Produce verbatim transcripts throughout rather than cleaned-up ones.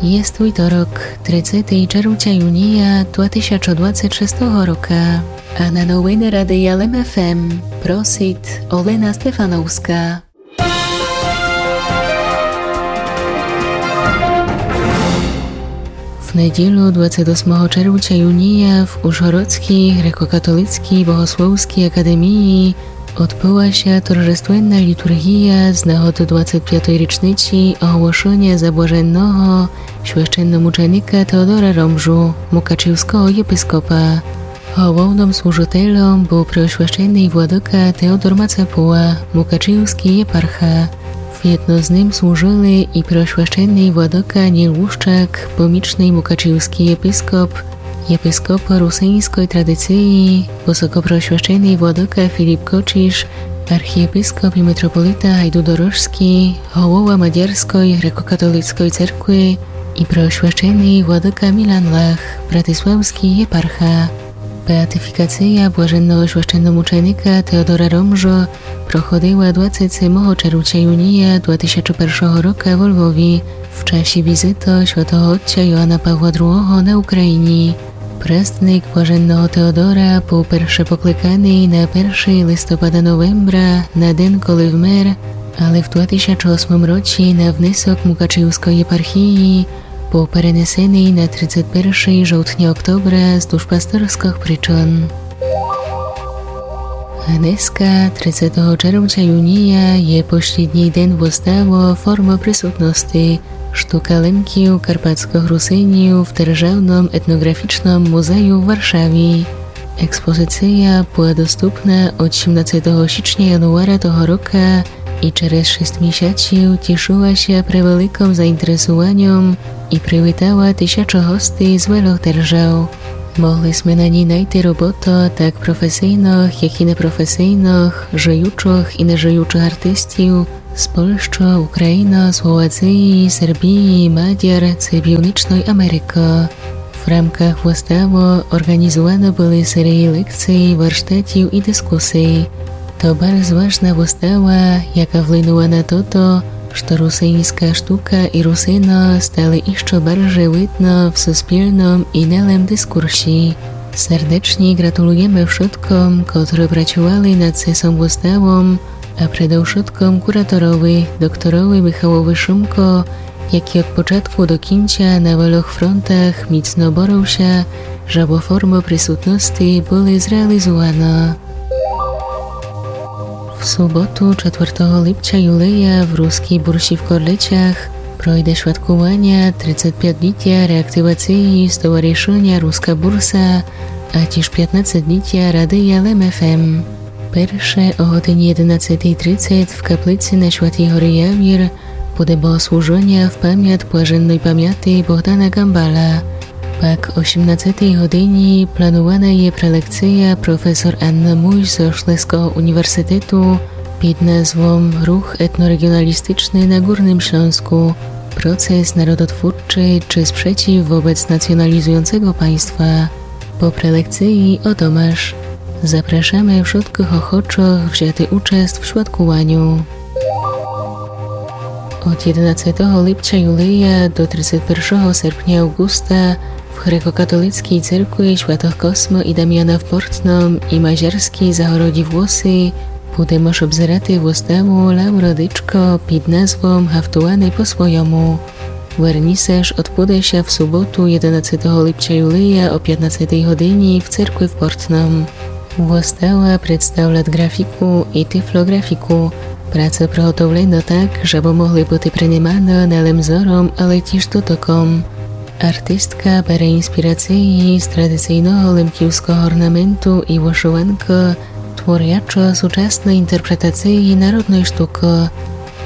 Єст вівторок, тридцетый червця юнія два тисячы двадцет шестого рока. А на новины Радия Лем ФМ просит Олена Стефановска. В неділю, двадцет осмого червця юнія, в Ужгородскій грекокатолицкій богословскій академії одбыла ся торжественна літурґія з нагоды двадцет пятой річниці оголошеня за блаженного священномученика Теодора Ромжу, мукачівского єпископа. Головным служителем был преосвященый владыка Теодор Мацапула, мукачівскій єпарха. Вєдно з ним служыли і преосвященый владыка Ніл Лущак, помічный мукачівскій єпископ, єпископ русиньской традиції, высокопреосвященый владыка Філіп Кочіш, архієпископ і митрополита Гайдудорожскій, голова Мадярской грекокатолицкой церкви і преосвященый владыка Мілан Лах, братиславскій єпарха. Беатифікація блаженного священномученика Теодора Ромжо проходила двадцет семого червця юнія два тисячы першого рока во Львові в часі візиты святого отця Йоана Павла другого на Україні. Престник блаженного Теодора был перше покликаный на першый листопада-новембра, на ден, коли вмер, але в два тисячы осмым році на внесок Мукачівской єпархії был перенесеный на тридцет першый жовтня-октобра з душпасторскых причын. Днеска, тридцетого червця юнія, є послїдній ден выставы «Форма присутности. Штука Лемків, карпатскых Русинів» в Державным етноґрафічным музею в Варшаві. Експозиція была доступна од сімнадцетого січня-януара того рока і через шіст місяців тішыла ся превеликым заінтересуваньом і привітала тисячы гостей з вельох держав. Могли сме на ній найти роботы так професийных, як і непрофесийных, жыючых і нежыючых артистів з Польщы, Україны, Словації, Сербії, Мадяр ци Північной Америкы. В рамках выставы орґанізуваны были серії лекцій, варштатів і дискусій. То барз важна выстава, яка вплинула на тото, што русиньска штука і Русины стали іщы барже видны в суспільным і нелем дискурсі. Сердечні ґратулуєме вшыткым, котры працювали над сесом выставом, а предовшыткым кураторови, докторови Михалови Шумко, якій од початку до кінця на вельох фронтах міцно борыв ся, жебы «Форма присутности» были зреалізуваны. В суботу, четвертого липця юлія, в Рускій бурсі в Корлицях пройде святкуваня тридцет пятолітя реактивації Стоваришыня Руска бурса, а тіж пятнадцетолітя Радия Лем ФМ. Перше о годині єденадцетій тридцет в каплиці на Святій горі Явір буде богослужыня в памят блаженной памяти Богдана Ґамбала. Пак о сімнадцетій годині планувана є прелекция професор Анны Мусь зо Шлеського університету під назвом «Рух етнорегіоналістичный на Ґурным Шльонску. Процес народотвурчий чи спрзеців вобец націоналізуюцего паньства». По прелекциі о домаш. Запрашаме вшыткых охочых взяти участ в святкуваню. Од єденадцетого липця юлія до тридцет першого серпня авґуста в грекокатолицкій церкви святых Космы і Дамяна в Портным і Мазярскій Загороді Влоси буде мож обзерати выставу «Лавро Дичко» під назвом «Гафтуваны по свойому». Верні сеш одбуде ся в суботу, єденадцетого липця юлія, о пятнадцетій годині в церкви в Портным. Выстава представлят ґрафіку і тифлоґрафіку. Праца приготовлена так, жебы могли быти приниманы не лем зором, але тіж дотоком. Артистка бере інспірациі з традицийного лемківского орнаменту і вышыванкы, творячы сучасны інтерпретациі народной штукы.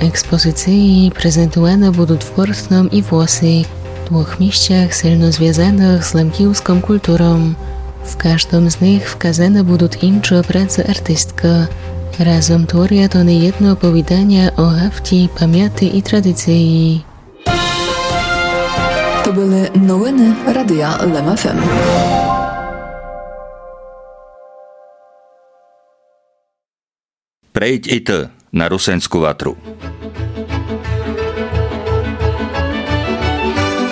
Експозициі презентуваны будут в Портным і Влоси, двох місцях сильно звязаных з лемківском культуром. В каждым з них вказаны будут інчы працы артисткы. Разом творят они єдно оповіданя о гафті, памяти і традициі. То были новины Радия Лем ФМ. Прейдь і ты на Русинську ватру.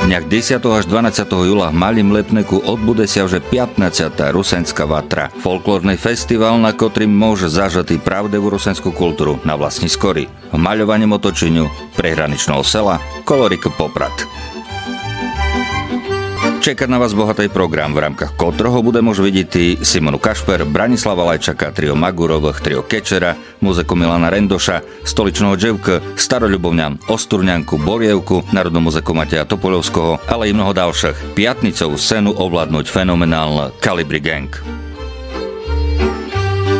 Днях десятого аж дванадцятого юла в Малім Липнику одбуде ся вже пятнадцята Русенска ватра, фолклорный фестівал, на котрім мож зажыти правдиву русенску културу на власній скорі, в мальованім оточеню приграничного села коло рікы Попрад. Чекат на вас богатый програм, в рамках котрого буде мож видїти Симону Кашпер, Бранислава Лайчака, трио Магуровых, трио Кечера, музыку Милана Рендоша, Столичного Джевка, Старолюбовнян, Остурнянку, Борєвку, народну музыку Матея Топольовского, але і много далшых. Пятницову сцену овладнуть феноменална Калібрі Ґенґ.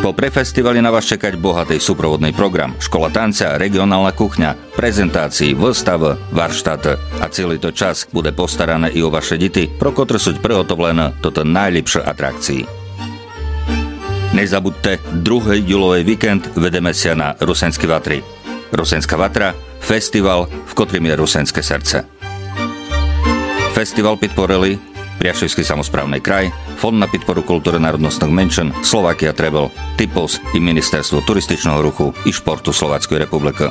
Попри фестівалі на вас чекать богатый супроводный програм: школа танця, реґіонална кухня, презентації, выставы, варштаты. А цілый тот час буде постаране і о ваше дїти, про котры суть приготовлены тоты найлїпшы атракції. Не забудте, другый юловый вікенд ведеме ся на Русенскій ватрі. Русенска ватра, фестівал, в котрім є русенске серце. Фестівал підпорили Пряшівскій самосправный край, Фонд на підпору културы народностных меншин, Словакія Тревел, Типос і Міністерство туристичного руху і шпорту Словацькой републикы.